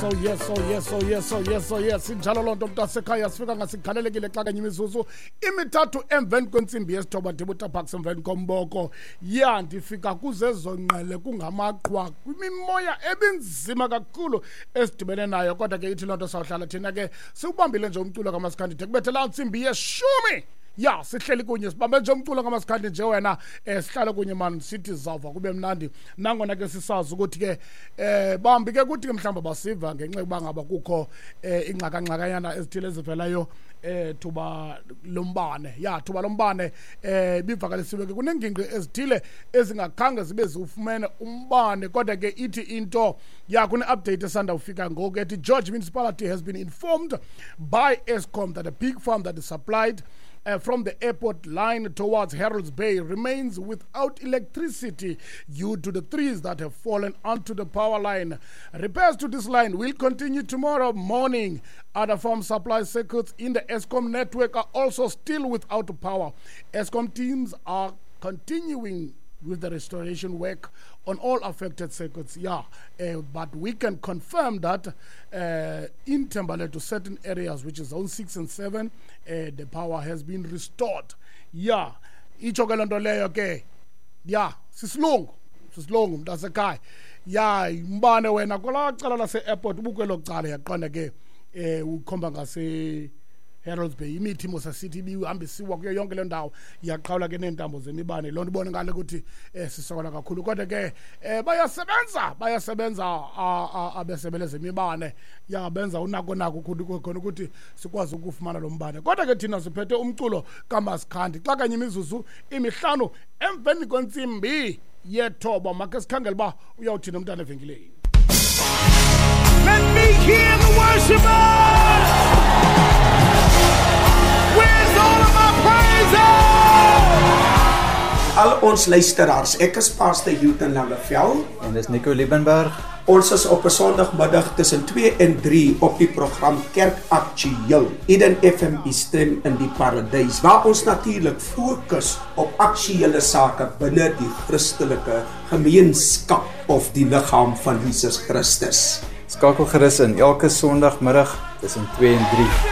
Oh yes, oh yes, oh yes, oh yes, oh yes. Injalo loo nto, mntasekhaya. Sifika ngasikhalelekile xa kanye imizuzu 3 emveni kwentsimbi yesithoba, ndibutaphaks emveni komboko. Ya, ndifika kuzezo ngqele kungamaqhwa, kwimimoya ebinzima kakhulu esidibene nayo, kodwa ke ithi loo nto sawuhlala thina ke siwubambile nje umculo kamaskandi de kubethe laa ntsimbi yeshumi. Ya, sihleli kunye, sibambe nje umculo kamaskandi nje wena, sihlale kunye mani, sithi zawuva kube mnandi, nangona ke sisazi ukuthi ke bambi ke kuthi ke mhlawumbi basiva ngenxa yokuba ngaba kukho ingxakangxakanyana ezithile ezivelayo thuba lombane. Ya, thuba lombane bivakalisiwe ke kunengingqi ezithile ezingakhange zibe ziwufumene umbane, kodwa ke ithi into ya kune-update esanda ufika ngoku ethi George Municipality has been informed by Eskom that a big farm that is supplied from the airport line towards Harold's Bay remains without electricity due to the trees that have fallen onto the power line. Repairs to this line will continue tomorrow morning. Other farm supply circuits in the Eskom network are also still without power. Eskom teams are continuing with the restoration work on all affected circuits. Yeah, but we can confirm that in Thembalethu, certain areas, which is zone 6 and 7, the power has been restored. Yeah, itsho ke loo nto leyo ke. Ya, sisilungu, sisilungu, mntasekhaya. Ya, umbane wena kwelaa cala lase-airport ubukwelo cala, yaqonda ke ukhomba ngase Harold's Bay, imithi mosasithi ibihambisiwa kuyo yonke le ndawo, iyaqhawula ke neentambo zemibane. Loo nto ibone ngale ukuthi sisokola kakhulu, kodwa ke bayasebenza, bayasebenza abesebe lezemibane. Ya, benza unako nako khona ukuthi sikwazi ukufumana lo mbane, kodwa ke thina siphethe umculo kamaskandi xa kanye imizuzu 5 emveni kwentsimbi yethoba. Makhe sikhangele uba uyawuthini umntana evenkileni. Let me hear the worshipers! Where's all of my praises? Al ons luisteraars, ek is Pastor Houghton Langeveld. En dis Nico Liebenberg. Ons is op 'n Sondagmiddag tussen 2 en 3 op die program Kerk Aktueel. Eden FM, u stem in die paradys, waar ons natuurlik fokus op aktuele sake binne die Christelike gemeenskap of die liggaam van Jesus Christus. Skakel gerus in elke Sondagmiddag tussen 2 en 3.